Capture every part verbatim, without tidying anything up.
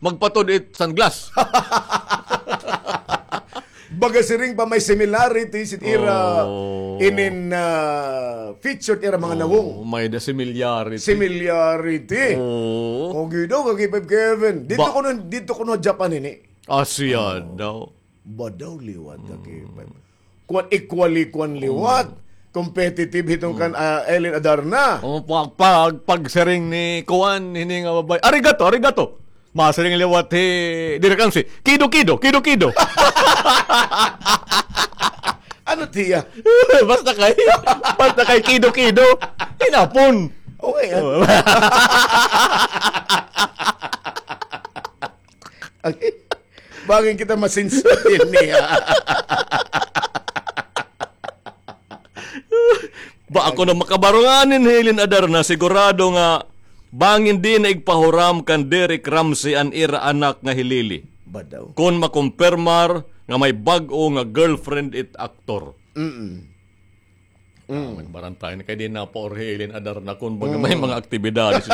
magpatod it sunglass. Baga siring pa may similarity it ira inin, ah, feature it ira mga nawong. May the similarity. Similarity. Oo. Ogi daw, Ka-K five Kevin. Didto kuno, didto kuno Japan ini. Asya daw. Ba daw liwat, Ka-K five. Kuan, equally kuan liwat. Competitive hiton kan, ah, Eileen Adarna. O, pag, pag, pagsiring ni kuan, hini nga babaye. Arigato, arigato. Masiring liwat hi Direk Ramsey. Kido, kido, kido, kido. Ano tiya? Basta kay, basta kay kido, kido. Hinapon. Okay, ah. Okay. Bangin kita masinsutin niya. Ba ako na makabarungan hin Eileen Adarna, sigurado nga bangin di na igpahuram kan Direk Ramsey an ira anak nga hi Lily. Ba daw? Kon makumpirmar nga may bag-o nga girlfriend it aktor. Mm. Mm. Nagbarantay na kay di na pa orhilin adar na kun baga may mga aktibidades.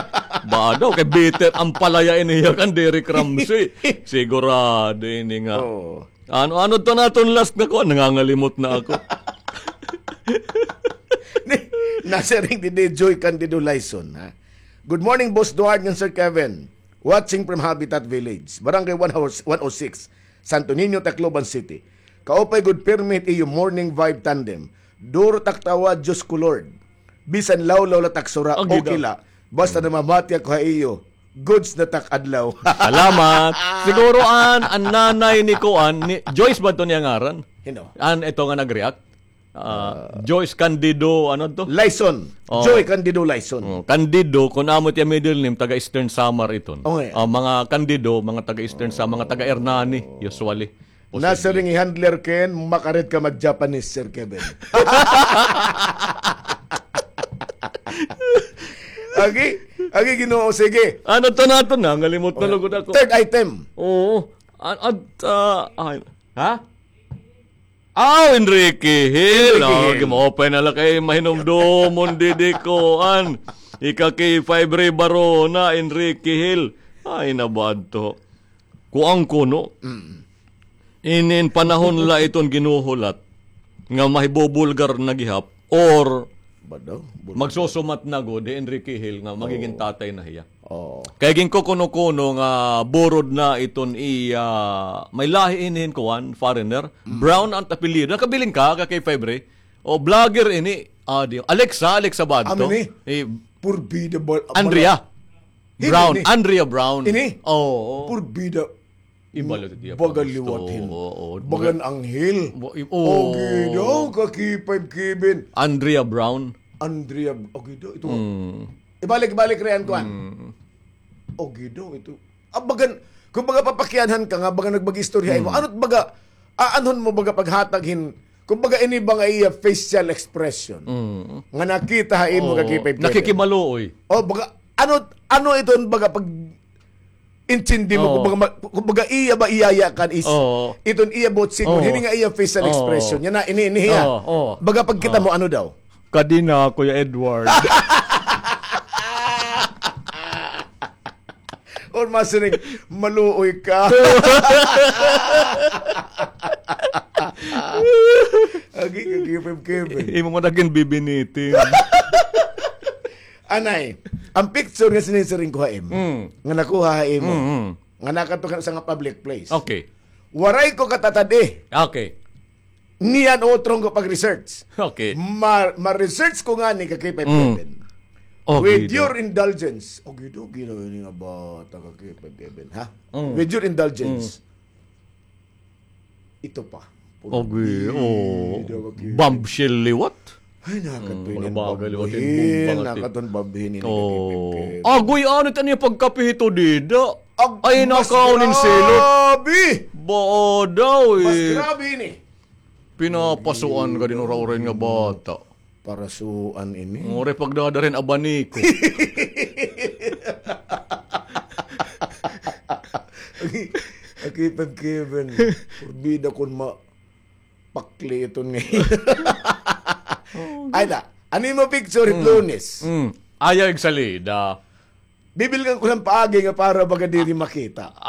Ba daw, kay bitter an palaya ini hiya kan Derek Ramsey. Sigurado ini nga. Oo. Ano, ano to naton last na kuan? Nangangalimot na ako. Ni, nasiring didi Joy Candido Lyson, ha? Good morning, Boss Duarte and Sir Kevin. Watching from Habitat Village, Barangay one oh six, Santo Niño, Tacloban City. Kaupay gud pirmi it iyo morning vibe tandem. Duro tak tawa, Diyos ko Lord. Bisan lawlaw la tak sura, okay la. Basta namamati ako ha iyo, goods na tak adlaw. Salamat. Siguro an, an nanay ni kuan, ni Joyce ba to niya ngaran? Hino? An ito nga nag-react? Ah, Joyce Candido, ano to? Lyson. Oh. Joy Candido Lyson. Oh, Candido, kun amo it iya middle name, taga Eastern Samar iton. Okay. Ah, mga Candido, mga taga Eastern Samar, mga taga Hernani, usually. Posible. Nasiring hi handler ken, makarit ka mag-Japanese, Sir Kevin. Agi, agi, Ginoo, sige. Ano to naton? Nangalimot na lugod ako. Third item. Oo. An-, ad-, ah, ay, ha? Aw, Enrique Hill. Enrique Hill. Gima-open na la kay mahinumdumon didi kuan. Ika K five Ray Barona, Enrique Hill. Ay, nabadto. Kuan kuno. Mm. Inin panahon la iton ginuhulat nga mahibubulgar na gihap or magsusumat na gud hi Enrique Hill nga magigin tatay na hiya. Oo. Kay ginkukuno-kuno nga burod na iton iya, may lahi ini hin kuan, foreigner. Mm. Brown an apelyido. Nakabilin ka, Ka K five Ray? O, vlogger ini. Ah, di, Alexa, Alexa ba adto? Amo ni? Eh, Purbida ba-, Andrea. Brown, Andrea Brown. Ini? Oo. Purbida. Ibalo ti iya baga liwat hin. Oo, oo. Bagan anghel. Ogi daw, Ka K five Kevin. Andrea Brown. Andrea, ogi daw, ito. Mm. Ibalik-balik riyan, kuan. Mm. Ogi daw, ito. Ah, bagan, kumbaga papakianhan ka nga, baga nagbag-istorya imo. Mm. Ano't baga, aanhon mo baga paghatag hin, kumbaga ini ba nga iya facial expression. Mm. Nga nakita ha imo, Ka K five Kevin. Nakikimaluoy. O, baga, ano, ano iton baga pag intindi mo, kumbaga, ma-, kumbaga iya ba iyaya kan is, iton iya buot signal, hini nga iya facial expression. Yana, ini, ini hiya. Baga pagkita mo, ano daw? Kadi na, Kuya Edward. Or masiring, maluoy ka. Agi, agi, Kevin. Imo man nagin bibinitin. Anay, an picture nga sinisiring ko ha imo, nga nakuha ha imo, nga nakadto ka ha usa nga public place. Okay. Waray ko katatad-i. Okay. Niyan utron ko pag-research. Okay. Ma-, ma-research ko ngani, Ka K five Kevin. With your indulgence. Ogi daw, ginawa ini nga bata, Ka K five Kevin, ha? Mm. With your indulgence. Ito pa. Ogi, o. Bombshell liwat. Ay, nakadto ini an babhin. Nakadto an babhin ini, Ka K five Kevin. Agoy, ano it an iya pagkapihito dida? Ay, nakaon hin silot. Grabe. Ba daw, eh. Mas grabe ini. Pinapasuan ka din ura-ura nga bata. Parasuan ini. Uri pagdadarin abaniko. Aki, aki, pag Kevin. Purbida kon ma-, pakli iton nga. Ay da, ano imo picture it Lunes? Mm. Ayaw igsalida. Bibilngan ko hin paagi nga para baga diri makita.